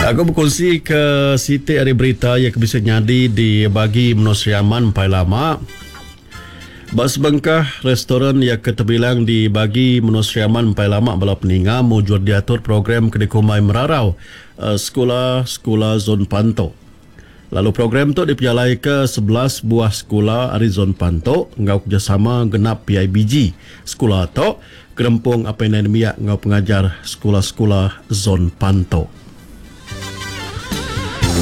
Aku bekunsi ke siti ari berita iya ke bisi nyadi di bagi menua Sri Aman empai lama. Ba sebengkah restoran iya ke tebilang di bagi menua Sri Aman empai lama bala peninga mujur diatur program ke dikumbai Merarau Sekula Sekula Zon Pantu. Lalu program tu dipejalaika 11 buah sekula ari Zon Pantu enggau kerejasama genap PIBG sekula tu, Gerempung Apai Indai Nembiak enggau Pengajar Sekula-sekula Zon Pantu.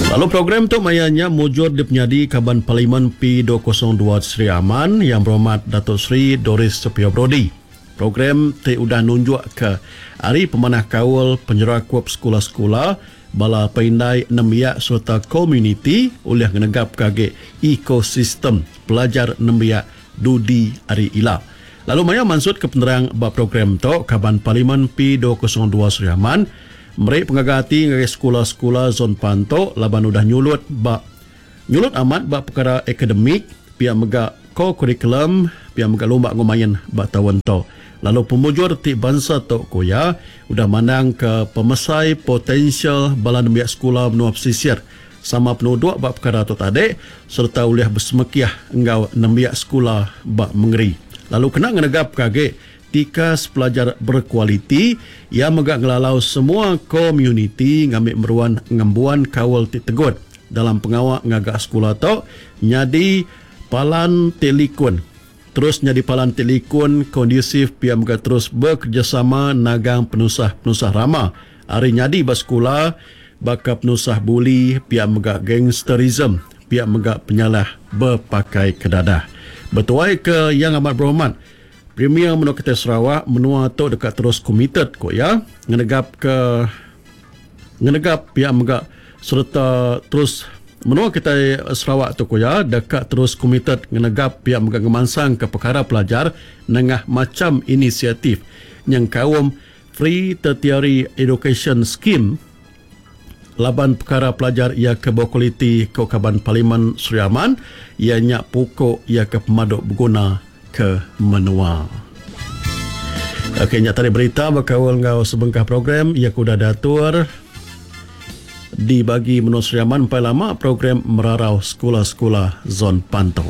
Lalu program tu maya nya mujur dipenyadi Kaban Parlimen P 202 Sri Aman Yang Berhormat Dato Sri Doris Sepio Brodie. Program ti udah nunjukka ari pemanah kaul penyerakup sekula-sekula, bala apai indai nembiak sereta komuniti ulih ngenegapka agi ekosistem pelajar nembiak dudi hari ila. Lalu maya mansutka penerang ba program tu, Kaban Parlimen P 202 Sri Aman meri pengaga ati ngagai sekula-sekula Zon Pantu laban udah nyulut ba nyulut amat ba pekara akademik, pia mega kokurikulum, pia mega lumba enggau main ba taun tu. Lalu pemujur ti bansa tu ku iya, udah mandangka pemesai potensial bala nembiak sekula menua pesisir sama penuduk ba pekara tu tadi sereta ulih besemekih enggau nembiak sekula ba mengeri. Lalu kena ngenegapka agi tikas pelajar berkualiti, iya mega ngelalau semua komuniti ngambi meruan ngembuan kaul ti tegut dalam pengawa ngaga sekula tu nyadi palan ti likun. Terus nyadi palan ti likun, kondusif pia mega terus bekerejasama nagang penusah-penusah rama ari nyadi ba sekula baka penusah buli pia mega gangsterism pia mega penyalah bepakai ke dadah. Betuai ke Yang Amat Berhormat Premier Menua Kitai Sarawak, menua tu deka terus komited, ku iya, ngenegapka ngenegap pia mega sereta terus menua kitai Sarawak tu ku iya deka terus komited ngenegap pia mega ngemansangka pekara pelajar nengah macham inisiatif nyengkaum Free Tertiary Education Scheme laban pekara pelajar iya ke bekualiti ku Kaban Parlimen Sri Aman iya nya puku iya ke pemadu beguna ke menua. Okey nya tadi berita bekaul enggau sebengkah program iya ke udah diatur di bagi menua Sri Aman empai lama program merarau sekula-sekula Zon Pantu.